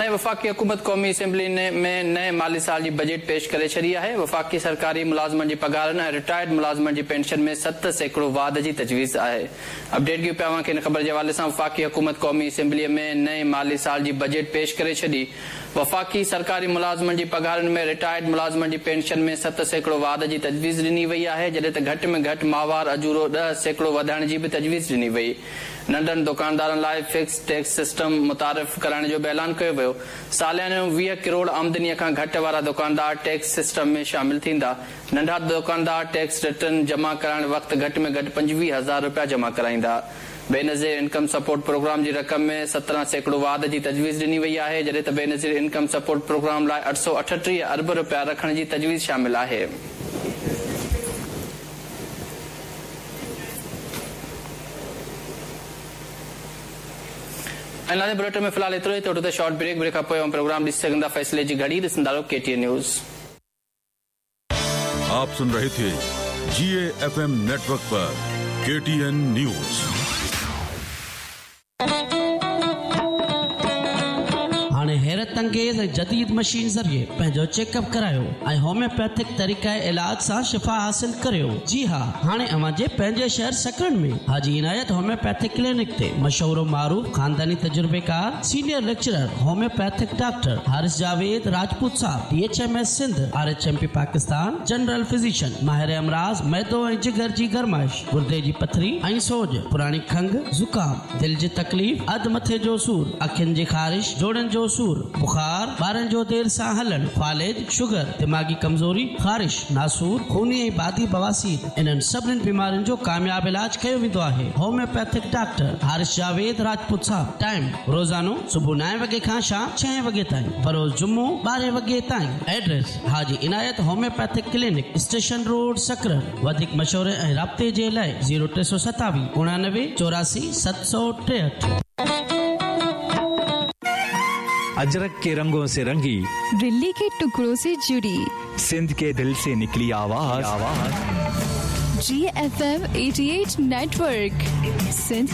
۽ وفاقي حڪومت قومي اسيمبلي ۾ نئين مالي سال جي بجيٽ پيش ڪري ڇڏي آهي. وفاقي سرڪاري ملازمن جي پگهارن ۽ رٽائرڊ ملازمن جي پينشن ۾ 7% واڌ جي تجويز آهي. اپڊيٽ ڪيون پيا اوهان کي ان خبر جي حوالي سان وفاقي حڪومت قومي اسيمبلي ۾ نئين مالي سال جي بجيٽ پيش ڪري ڇڏي. وفاقي سرڪاري ملازمن جي پگهارن ۾ رٽائرڊ ملازمن جي پينشن ۾ 7% واڌ جي تجويز ڏني وئي آهي جڏهن ته گهٽ ۾ گهٽ ماهوار اجورو 10% وڌائڻ جي به تجويز ڏني وئي. ننڍن دڪاندارن لاء فڪس ٽيڪس سسٽم متعارف ڪرائڻ جو به اعلان ڪيو ويو. ساليانو 20 ڪروڙ آمدني کان گهٽ وارا دڪاندار ٽيڪس سسٽم ۾ شامل ٿيندا. ننڍا دڪاندار ٽيڪس رٽرن جمع ڪرائڻ وقت گهٽ ۾ گهٽ 25 هزار رپيا جمع ڪرائيندا. بينظير انڪم سپورٽ پروگرام جي رقم ۾ 17% واڌ جي تجويز ڏني وئي آهي، جڏهن ته بينظير انڪم سپورٽ پروگرام لاء 838 ارب رپيا رکڻ جي تجويز شامل آهي. ۽ ناظرين بليٽن ۾ في الحال ايترو ئي ته وٺو ٿا شارٽ بريڪ، بريڪ کان پوء اوهان پروگرام ڏسي سگهندا فيصلي جي گهڙي ڏسندا رهو ڪي ٽي اين نيوز. آپ سن رهي ٿي جي اي ايف ايم نيٽورڪ پر ڪي ٽي اين نيوز. هاڻي حيرت انگيز ۽ جديد مشين ذريعي پنهنجو چيڪ اپ ڪرايو ۽ هوميوپيٿڪ طريقه علاج سان شفا حاصل ڪريو جي ها هاڻي اوهان جي پنهنجي شهر سڪرنڊ ۾ حاجي عنايت هوميوپيٿڪ ڪلينڪ تي مشهور و معروف خانداني تجربيڪار senior lecturer homeopathic doctor Haris Javed Rajput صاحب D H M S Sindh R H M P Pakistan general physician ماهر امراض معدو ۽ جگر جي گرمائش گردي جي پٿري ۽ سوڄ پراڻي کنگهه زڪام دل جي تڪليف، اڌ مٿي جو سور، اکين جي خارش، جوڙن جو سور، بخار، ٻارن جو دير سان هلڻ، فالج، شگر، دماغي ڪمزوري، خارش، ناسور، خوني ۽ بادي بواسير، انهن سڀني بيمارين جو ڪامياب علاج ڪيو ويندو آهي. هوميوپيٿڪ ڊاڪٽر حارث جاويد راجپوت صاحب، ٽائيم، روزانو صبح نائين وڳي کان شام ڇهين وڳي تائين، بروز جمعو ٻارهين وڳي تائين. Address, Haji Inayat homeopathic clinic, station road, Sakrand. وڌيڪ مشوري ۽ رابطي جي لاء زيرو 327 89 84 763. اجرڪ ڪي رنگون سي رنگي. دلي ڪي ٽڪڙو سي جڙي. سنڌ ڪي دل سي نڪلي آواز. جي ايف ايم 88 نيٽورڪ سنڌ.